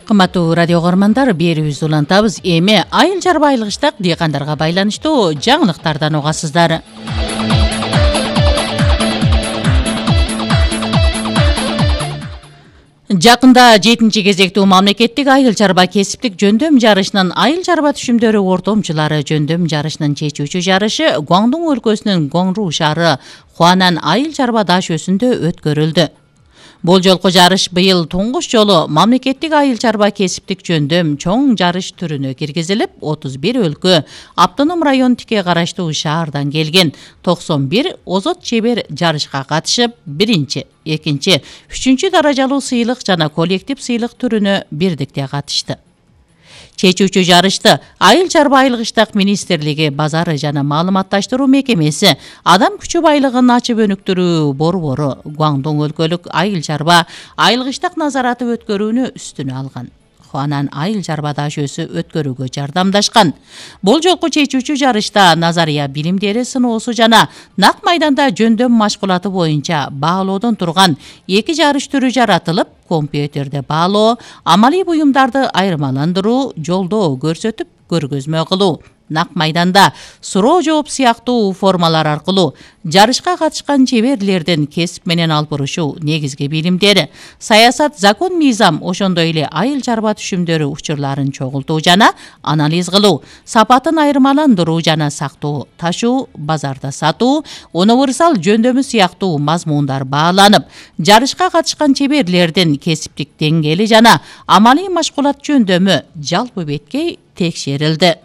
Кымбаттуу радио көрмандар, берүүбүздү улантабыз. Эми айыл чарба айылгычтак дыйкандарга байланыштуу жаңылыктардан угасыздар. Жакында 7-чи кезектүү мамлекеттик айыл чарба кесиптик жөндөм жарышынын айыл чарба түшүмдөрү ортомчулары жөндөм жарышынын чечүүчү жарышы Гуандун өлкөсүнүн Гуанру шаары Хуанан айыл чарба даш өсүндө өткөрүлдү. Бул жолку жарыш быйыл туңгуч жолу мамлекеттик айыл чарба кесиптик жөндөм чоң жарыш түрүнө киргизилип, 31 өлкө Автоном район тике караштуу шаардан келген 91 озот чебер жарышка катышып, 1-чи, 2-чи, 3-чү даражалуу сыйлык жана коллектив сыйлык түрүнө бирдикте катышты. Чечүүчү жарышты Айыл чарба айылгычтак министрлиги базары жана маалыматташтыруу мекемеси адам күчү байлыгын ачып өнүктүрүү борбору Гуандун өлкөлүк айыл чарба айылгычтак назараты өткөрүүнү үстүнө алган. Хуанан айыл чарба даш өсү өткөрүүгө жардамдашкан. Бул жолку чечүүчү жарышта назария билимдери сыноосу жана нак майданда жөндөм машкулаты боюнча баалоодон турган 2 жарыш түрү жаратылып, компьютерде баалоо, амалий буюмдарды айырмаландыруу, жолдоо көрсөтүп, көргөзмө кылуу, нак майданда суроо жооп сыяктуу формалар аркылуу жарышка катышкан чеберлердин кесип менен албырышуу негизги билимдери, саясат, закон, мыйзам, ошондой эле айыл чарба түшүмдөрү учурларын чогултуу жана анализ кылуу, сапатын айырмаландыруу жана сактоо, ташуу, базарда сатуу, универсал жөндөмү сыяктуу мазмундар бааланып, жарышка катышкан чеберлердин кесиптик деңгээли жана амалий машкулат жөндөмү жалпы беткей текшерилди.